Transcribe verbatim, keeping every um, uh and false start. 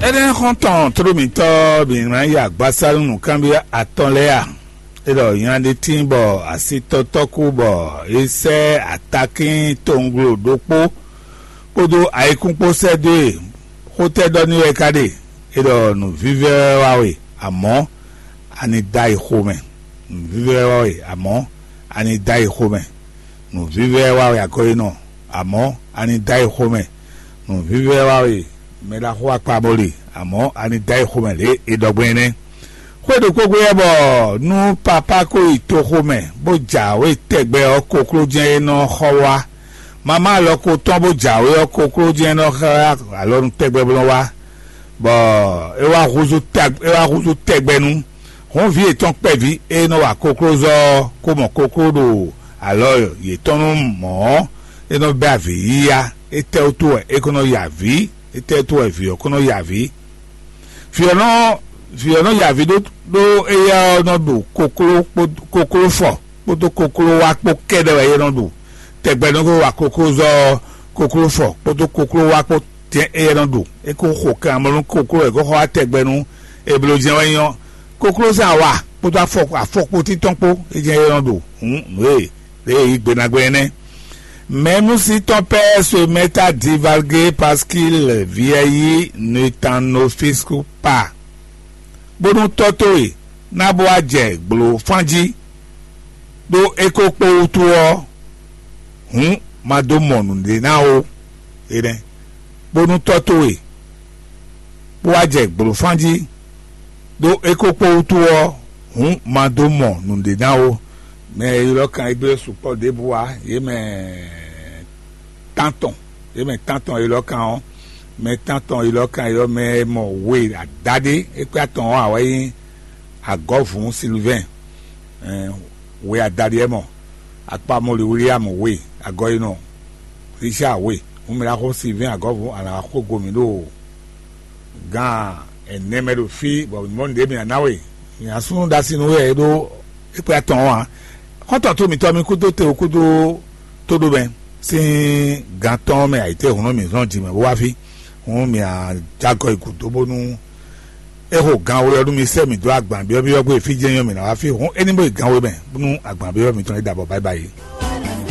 Énɛ́ xɔ́ntɔn tló mǐtɔn bǐ ná yi agbasá nú nǔkanbyɔ́ atɔn lɛ́ɛ a? É ɖɔ nya ɖé tíin bɔ asítɔ́tɔ́ kú bɔ é sɛ́ atakín towunglo ɖokpó kpódó ayikún kpó sɛ́ dó e. Xó tɛ́ ɖɔ n'i wɛ é ka ɖe? É ɖɔ nǔvívɛ́ wɛ wá we, amɔ̌ a ni dó ayi xomɛ. Nǔvívɛ́ wɛ wá we, amɔ̌ a ni dó ayi xomɛ. Nǔvívɛ́ wá we, akɔ́yinɔ, amɔ̌ a ni dó ayi xomɛ. Nǔvívɛ́ wá we, mɛ ɖaxó akpaboli, amɔ̌ a ni dó ayi xomɛ lě e ɖɔ gbɔn é nɛ́. Xwé ɖokpó gbe wɛ bɔ nú papá ko yi toxo mɛ bó jǎwe tɛgbɛ ɔ́, kokló jɛ́n é nɔ xɔ wá. Mamá alɔ ko tɔn bó jǎwe ɔ́, kokló jɛ́n é nɔ xlá alɔnu tɛgbɛ bó nɔ wá, bɔ é wá húzú tag- é wá húzú tɛgbɛ nú. Hǔn vǐ yětɔn kpɛví e nɔ wa koklózɔ ɔ́, ko mɔ kokló ɖo alɔ yětɔn nú mɔ̌ ɔ́, é nɔ bɛ́ avǐ yíyá. Étɛ́ wútu wɛ é ko nɔ ya avǐ? Étɛ́ wútu wɛ vǐ ɔ́ ko nɔ ya avǐ? Vǐ ɔ́ nɔ vǐ ɔ́ nɔ ya avǐ ɖó ɖó éyɛ́ ɔ́ nɔ ɖo kokló kpó kokló fɔ kpódó kokló wá kpó kɛ́ɖɛ́ wɛ é nɔ ɖo. Tɛgbɛ nɔ ko wa koklózɔ ɔ́, kokló fɔ kpódó kokló wá kpó tɛn éyɛ́ nɔ ɖo. É ko xo kan amlɔ nú kokló wɛ é ko xɔ wá tɛgbɛ nú. Eblo jɛ́n wɛ nyí ɔ́, kokló sín awa kpódó afɔ afɔkpotí tɔn kpó é jɛ́n é nɔ ɖo. Hǔn nǔ e lě e yí gbe ná gbɛn é nɛ́. Même si ton père se met à divaguer parce qu'il vieillit, ne t'en offusque pas. Bónú tɔ́ towe ná bó wá jɛ gblo fán jí, ɖó é ko kpó wútu ɔ́, hǔn ma dó mɔ nǔɖé ná ó. Énɛ́, bónú tɔ́ towe bó wá jɛ gblo fán jí, ɖó é ko kpó wútu ɔ́, hǔn ma dó mɔ nǔɖé ná ó. Mɛ e ylɔ́ kan égbé sukpɔ́ ɖěbǔ ǎ, yě mɛ tántɔn, yě mɛ tántɔn e ylɔ́ kan ɔ́, mɛ tántɔn e ylɔ́ kan ylɔ́ mɛ e mɔ we adaɖé é kpé atɔn ɔ́ ǎ wɛ nyí Agɔ̌vǔn Silivɛ́n, we adaɖé é mɔ Akpamoli William we, Agɔyinɔ Richard we, hǔn mɛ ɖaxó Silivɛ́n Agɔ̌vǔn alǎxógo mǐ ɖo gan ɛnɛ mɛ ɖo fí, bɔ mɔ̌ nǔɖé mǐ ná ná we. Mǐ asúnú ɖo así nú we wɛ é ɖó é kpé atɔn ɔ́ ǎ. Xɔ́ntɔn tó mǐtɔn mi kúdó te kúdó tóɖomɛ sín gan tɔn mɛ ayǐtéhùn nú mǐ zɔn jǐ mɛ bó wá fí. Hǔn mǐ ajagɔ yi gǔdo bónú é xo gan we ɔ́ nú mi sɛ́ mǐ dó agban byɔ́byɔ́ gbé fí jɛ́n nyɔ́ mǐ ná wá fí. Hǔn é ní bó yi gan we mɛ nú agban byɔ́byɔ́ mitɔn é ɖabɔ báyibáyi.